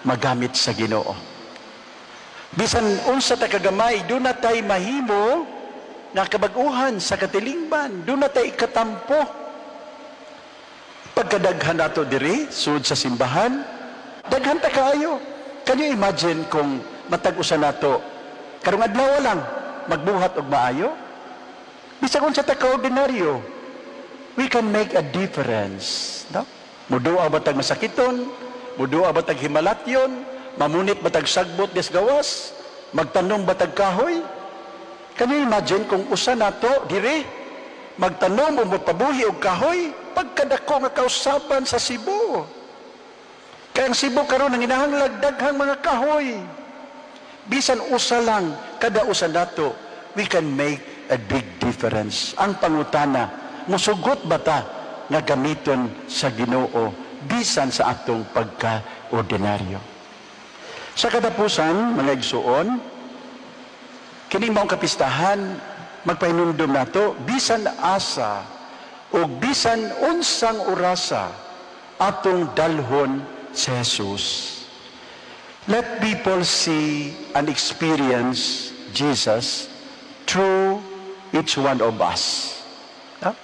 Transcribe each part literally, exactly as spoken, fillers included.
magamit sa Ginoo. Bisan unsa ta kagamay, duna tay mahimo nga kabag-uhan sa katilingban, duna tay ikatampo. Pagkadaghan nato diri sud sa simbahan, daghan ta kaayo. Can you imagine kung matag usa nato karong adlaw lang magbuhat og maayo? Bisan unsa ta ka-ordinaryo, we can make a difference, no? Muduaw ba tag masakiton? Muduaw ba tag himalatyon? Mamunit ba tag sagbot des gawas? Magtanom ba tag kahoy? Can you imagine kung usa nato diri magtanom o mopabuhi og kahoy, pagkadako nga kausaban sa Cebu? Kaya ang Cebu karon ang inahanglag daghang mga kahoy. Bisan usa lang, kada usa nato, we can make a big difference. Ang pangutana, musugot ba ta nga gamiton sa Ginoo bisan sa atong pagka-ordinaryo? Sa katapusan, mga igsuon, kini maong kapistahan, magpahinumdum nato bisan asa o bisan unsang orasa, atong dalhon si Jesus. Let people see and experience Jesus through each one of us. No?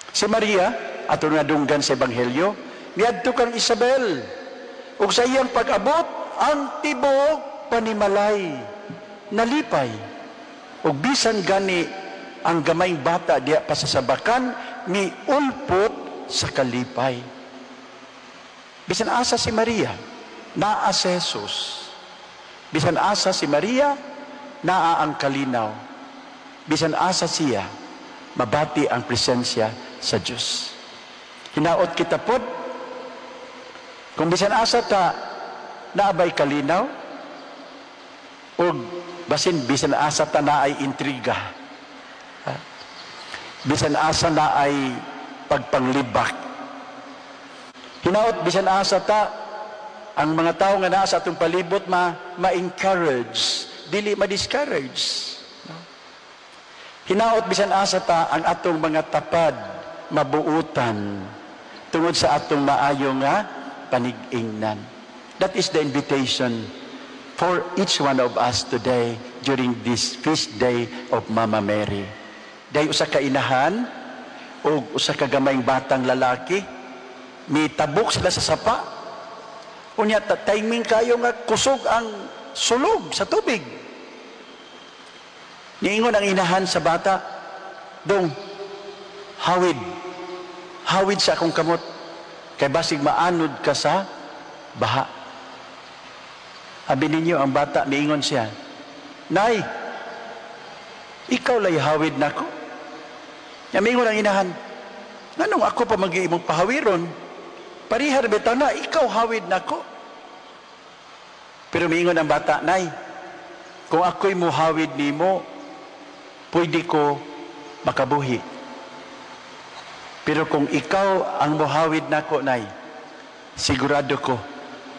Si Maria, ato nadunggan sa Ebanghelyo, miadto kang Isabel. Ug sa iyang pag-abot, ang tibuok panimalay, nalipay. Ug bisan gani ang gamayng bata diya pa sa sabakan, miulpot sa kalipay. Bisan asa si Maria, naa si Jesus. Bisan asa si Maria, naa ang kalinaw. Bisan asa siya, mabati ang presensya sa Diyos. Hinaot kita pod, kung bisan asa ta, naa bay kalinaw, o basin bisan asa ta naay intriga. Ha? Bisan asa naay pagpanglibak. Hinaot bisan asa ta, ang mga tao nga naa sa atong palibot ma ma-encourage, dili ma-discourage. No? Hinaot bisan asa ta, ang atong mga tapad mabuutan tungod sa atong maayo nga panig-ingnan. That is the invitation for each one of us today during this feast day of Mama Mary. Dahil usa ka inahan o usa ka gamayng batang lalaki, mitabok sila sa sapa. Unya ta- timing kayo nga kusog ang sulog sa tubig. Niingon ang inahan sa bata, "Dong, hawid. Hawid sa akong kamot. Kay basig maanod ka sa baha." Abi ninyo, ang bata, niingon siya, "Nay, ikaw lay hawid nako." Nya miingon ang inahan, "Nganong ako pa mag imong pahawiron? Parihar bitaw na, ikaw hawid nako." Pero miingon ang bata, "Nay, kung ako'y muhawid nimo, pwede ko makabuhi. Pero kung ikaw ang muhawid nako, Nay, sigurado ko,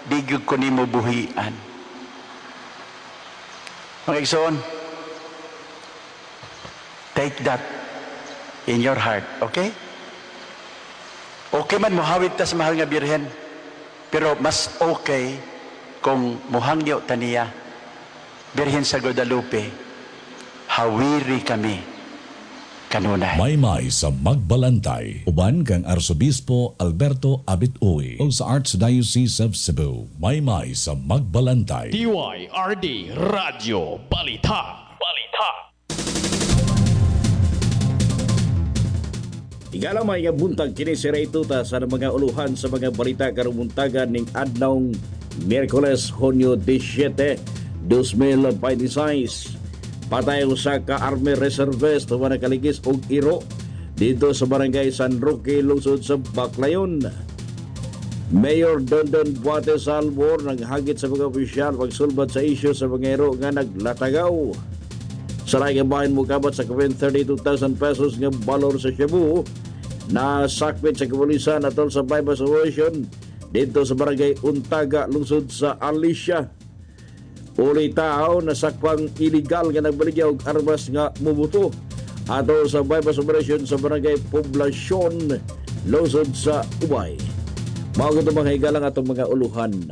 di gyud ko nimo buhian." Mga igsoon, take that in your heart, okay? Okay man muhawid ta sa mahal nga Birhen, pero mas okay kung muhangyo ta niya, "Birhen sa Guadalupe, hawiri kami kanunay." Maymay sa Magbalantay. Uban kang Arsobispo Alberto Abit Uy o sa Archdiocese of Cebu. Maymay sa Magbalantay. D Y R D Radyo Balita. Balita. Igalamay nga buntag, kini si Ray Tuta sa mga uluhan sa mga balita karong buntagan ning adlawng Miyerkules, Hunyo labing siyam, dalawang libo labing walo. Patay usa ka Army Reservist tuman nakaligis og iro dito sa Barangay San Roque, lungsod sa Baclayon. Mayor Dondon Buate Salvor naghagit sa mga opisyal pagsulbad sa isyu sa mga iro nga naglatagaw. Sa laing bahin, mukabat sa kapin thirty-two thousand pesos nga balor sa Cebu na sakpit sa kapulisan atol sa bypass operation dito sa Barangay Untaga, lungsod sa Alicia. Uli tao nasakpang illegal nga nagbaligya og armas nga mubuto atol sa bypass operation sa Barangay Poblacion, lungsod sa Ubay. Mao mga higalang atong mga uluhan.